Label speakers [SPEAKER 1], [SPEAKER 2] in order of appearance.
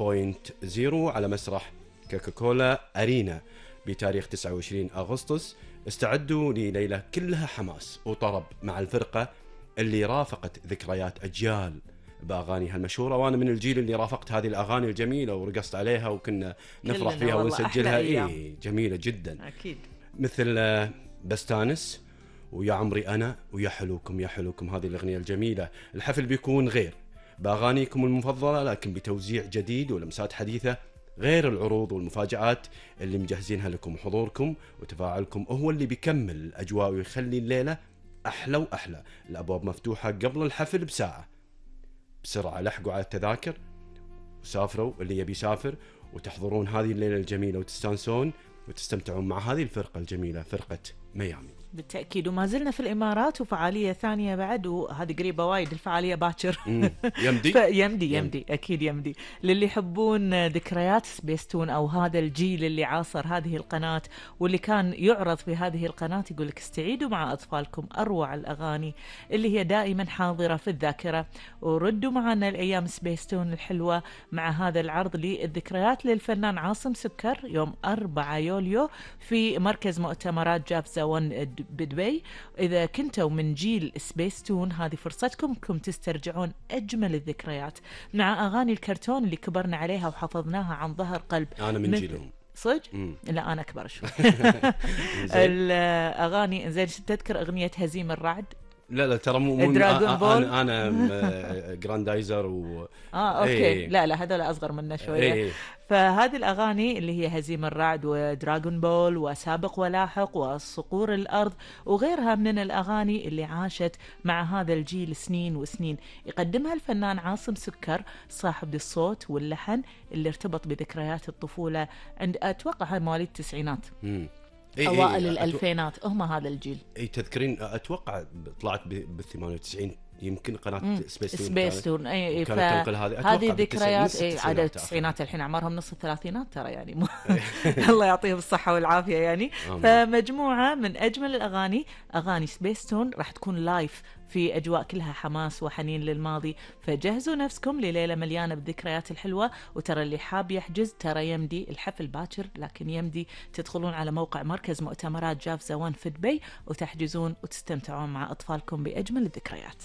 [SPEAKER 1] على مسرح كوكاكولا أرينا بتاريخ 29 أغسطس. استعدوا لليلة كلها حماس وطرب مع الفرقة اللي رافقت ذكريات أجيال بأغانيها المشهورة، وأنا من الجيل اللي رافقت هذه الأغاني الجميلة ورقصت عليها وكنا نفرح فيها ونسجلها. جميلة جدا أكيد، مثل بستانس ويا عمري أنا ويا حلوكم يا حلوكم. هذه الأغنية الجميلة. الحفل بيكون غير بأغانيكم المفضلة لكن بتوزيع جديد ولمسات حديثة، غير العروض والمفاجآت اللي مجهزينها لكم. حضوركم وتفاعلكم هو اللي بيكمل الأجواء ويخلي الليلة أحلى وأحلى. الأبواب مفتوحة قبل الحفل بساعة. بسرعة لحقوا على التذاكر وسافروا اللي يبي يسافر وتحضرون هذه الليلة الجميلة وتستانسون وتستمتعون مع هذه الفرقة الجميلة، فرقة ميامي.
[SPEAKER 2] بالتأكيد. وما زلنا في الإمارات وفعالية ثانية بعد، وهذه قريبة وايد الفعالية باكر. يمدي أكيد يمدي للي يحبون ذكريات سبيستون أو هذا الجيل اللي عاصر هذه القناة واللي كان يعرض في هذه القناة. يقولك استعيدوا مع أطفالكم أروع الأغاني اللي هي دائما حاضرة في الذاكرة، وردوا معنا الأيام سبيستون الحلوة مع هذا العرض للذكريات للفنان عاصم سكر يوم 4 يوليو في مركز مؤتمرات جافزا 1 بدبي. إذا كنتوا من جيل سبيستون هذه فرصتكم انكم تسترجعون أجمل الذكريات مع أغاني الكرتون اللي كبرنا عليها وحفظناها عن ظهر قلب.
[SPEAKER 1] أنا من جيلهم
[SPEAKER 2] صدق؟ لا أنا أكبر شوي. الأغاني زين. تذكر أغنية هزيم الرعد؟
[SPEAKER 1] لا ترى مو أنا جراندايزر
[SPEAKER 2] أوكي. لا هذول أصغر منا شوية. فهذه الأغاني اللي هي هزيم الرعد ودراغون بول وسابق ولاحق وصقور الأرض وغيرها من الأغاني اللي عاشت مع هذا الجيل سنين وسنين، يقدمها الفنان عاصم سكر صاحب الصوت واللحن اللي ارتبط بذكريات الطفولة عند أتوقع مواليد التسعينات أوائل الألفينات. هم هذا الجيل.
[SPEAKER 1] تذكرين أتوقع طلعت بال98 يمكن قناة
[SPEAKER 2] سبيستون.
[SPEAKER 1] كانت تنقل
[SPEAKER 2] هذه ذكريات عدد التسعينات. الحين أعمارهم نص الثلاثينات ترى يعني. الله يعطيهم الصحة والعافية يعني. فمجموعة من أجمل الأغاني، أغاني سبيستون راح تكون لايف في أجواء كلها حماس وحنين للماضي. فجهزوا نفسكم لليلة مليانة بالذكريات الحلوة. وترى اللي حاب يحجز ترى يمدي، الحفل باكر لكن يمدي تدخلون على موقع مركز مؤتمرات جافزا 1 في دبي وتحجزون وتستمتعون مع أطفالكم بأجمل الذكريات.